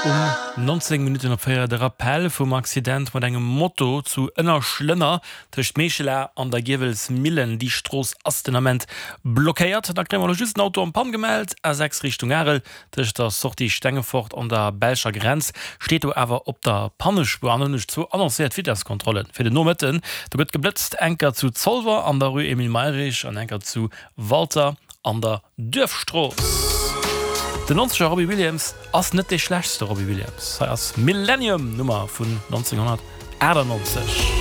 Um 19 Minutten op 4 de Rappel vum Accident mat engem Moto zu Ënnerschlënner tëscht Meechela an der Giewelsmillen. Déi Strooss ass den Ament blockéiert. Da kréie mer elo just en Auto en Panne gemellt, A6 Richtung Arel, tëscht der Sortie Stengefort an der belscher Grenz. Steet do awer op der Pannespuer. An dann hunn ech zwou annoncéiert Vitesskontrollen fir den Nomëtten. Do gëtt geblëtzt, enker zu Zolwer an der Rue Emile Mayrisch an enker zu Walter an der Duerfstrooss. Den Nonzeger Robbie Williams ass net dee schlechtste Robbie Williams. Hei ass Millennium, Nummer vun 1998.